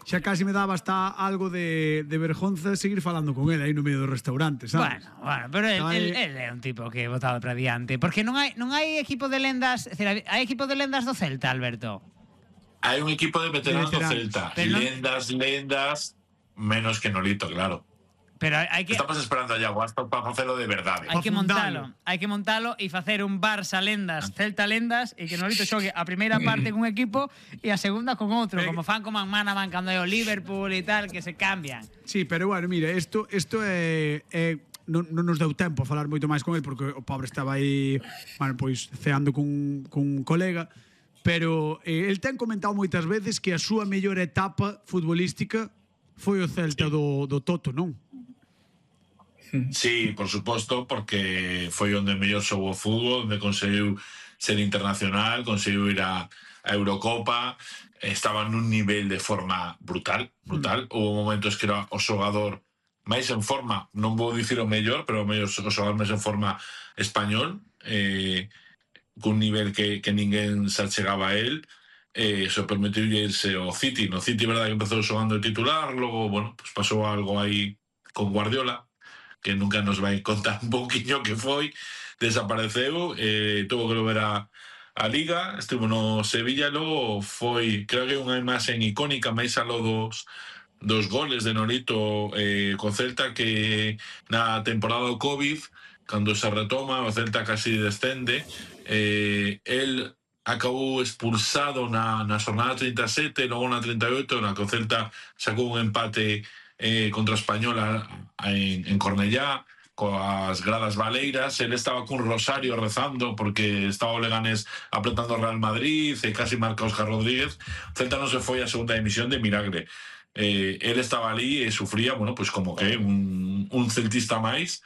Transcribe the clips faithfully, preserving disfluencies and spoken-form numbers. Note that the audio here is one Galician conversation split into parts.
xa casi me daba hasta algo de, de vergonza seguir falando con ele aí no medio do restaurante, sabes? Bueno, bueno, pero el, No, el, eh, el é un tipo que botado para diante. Porque non hai non hai equipo de lendas, é dicir, hai equipo de lendas do Celta, Alberto. Hai un equipo de veteranos De do veteranos. Celta. Pero non- Lendas, lendas, menos que Nolito, claro. Pero hai que Estamos esperando a Iago Aspas para facelo de verdade. hai que fundalo. montalo, hai que montalo e facer un Barça lendas, Celta lendas e que Nolito xogue a primeira parte con un equipo e a segunda con outro, Pero- como fan como Manaman cando é o Liverpool e tal, que se cambian. Sí, pero bueno, mira, isto isto é, é non, non nos deu tempo a falar moito máis con ele porque o pobre estaba aí, bueno, pois ceando cun, cun colega, pero eh, el ten comentado moitas veces que a súa mellor etapa futbolística foi o Celta do, do Toto, non? Sí, por suposto, porque foi onde mellor xogou o fútbol, onde conseguiu ser internacional, conseguiu ir a, a Eurocopa, estaba nun nivel de forma brutal, brutal. Mm. Houve momentos que era o xogador máis en forma, non vou dicir o mellor, pero o mellor o xogador máis en forma español, eh, cun nivel que, que ninguén se achegaba a él. Eh, eso permitiu irse ao City. No City, verdad, que empezou xogando de titular, logo, bueno, pues pasou algo aí con Guardiola, que nunca nos vai contar un pouquiño que foi, desapareceu, eh, tuvo que volver a, a Liga, estuvo no Sevilla, logo foi, creo que unha imaxe icónica, máis aló dos, dos goles de Nolito eh, co Celta, que na temporada do Covid, cando se retoma, o Celta casi descende, eh, el acabou expulsado na, na jornada trinta e sete, logo na trinta e oito, na que o Celta sacou un empate Eh, contra Española en, en Cornellá, coas gradas baleiras. Él estaba cun rosario rezando porque estaba o Leganés apretando o Real Madrid e casi marca Óscar Rodríguez. Celta non se foi a segunda división de milagre. Eh, él estaba ali e sufría, bueno, pues como que un, un celtista máis,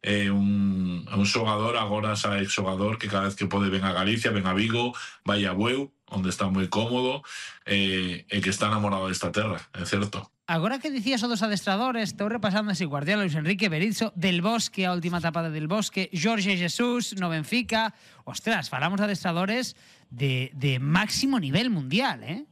eh, un, un xogador, agora xa ex xogador que cada vez que pode ven a Galicia, ven a Vigo, vai a Bueu, onde está moi cómodo, eh, e que está enamorado desta terra, é certo. Agora que dicías o dos adestradores, estou repasando así Guardiola, Luis Enrique, Berizzo, Del Bosque, a última tapada del Bosque, Jorge Jesús, no Benfica. Ostras, falamos de adestradores de, de máximo nivel mundial, ¿eh?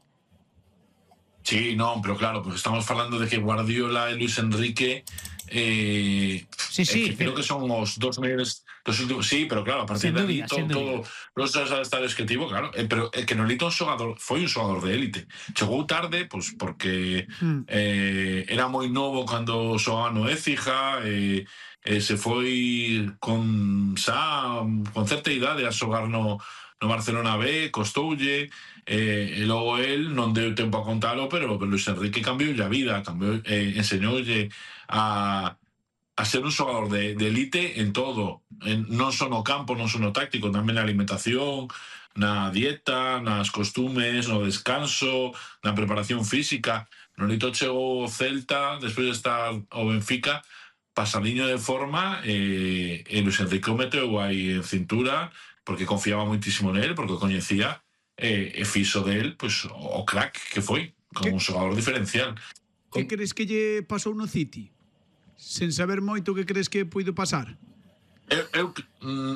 Sí, non, pero claro, pues estamos falando de que Guardiola e Luis Enrique eh, Sí, sí, eh, que creo que son os dos mellores dos últimos, sí, pero claro, a partir Sin de dúbida, aí todo, sin todo los dos estadios que tivo, claro, eh, pero eh, que Nolito un xogador, foi un xogador de élite. Chegou tarde, pues porque Mm. eh, era moi novo cando xogaba no Écija, eh, eh, se foi con xa con certa idade a xogar no no Barcelona B, costoulle, eh, e logo el non deu tempo a contalo, pero, pero Luis Enrique cambiou a vida, cambiou, eh, enseñoulle a, a ser un xogador de, de elite en todo, en, non só no campo, non só no táctico, tamén na alimentación, na dieta, nas costumes, no descanso, na preparación física. Nolito chegou ao Celta, despois de estar ao Benfica, pasaliño de forma, e, e Luis Enrique o meteu aí en cintura, porque confiaba moitísimo nel, porque o coñecía, e, e fixo del, pues, o crack que foi, como un xogador diferencial. Que crees que lle pasou no City? Sen saber moito, que crees que puido pasar? Eu, eu,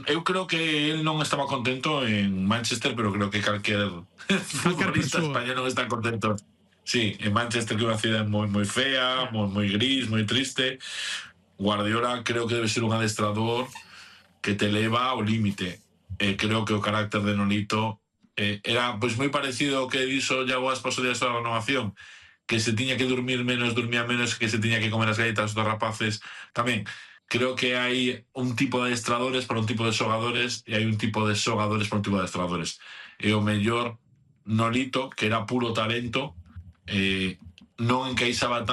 eu creo que él non estaba contento en Manchester, pero creo que calquer futbolista español non está contento. Sí, en Manchester, que é unha cidade moi moi fea, moi moi gris, moi triste. Guardiola creo que debe ser un adestrador que te eleva ao límite. Eh, creo que o carácter de Nolito eh, era pois moi parecido ao que dixo Iago Aspas o día da renovación, que se tiña que dormir menos, dormía menos, que se tiña que comer as galletas dos rapaces tamén. Creo que hai un tipo de adestradores para un tipo de xogadores e hai un tipo de xogadores para un tipo de adestradores. E o mellor Nolito, que era puro talento, eh, non encaixaba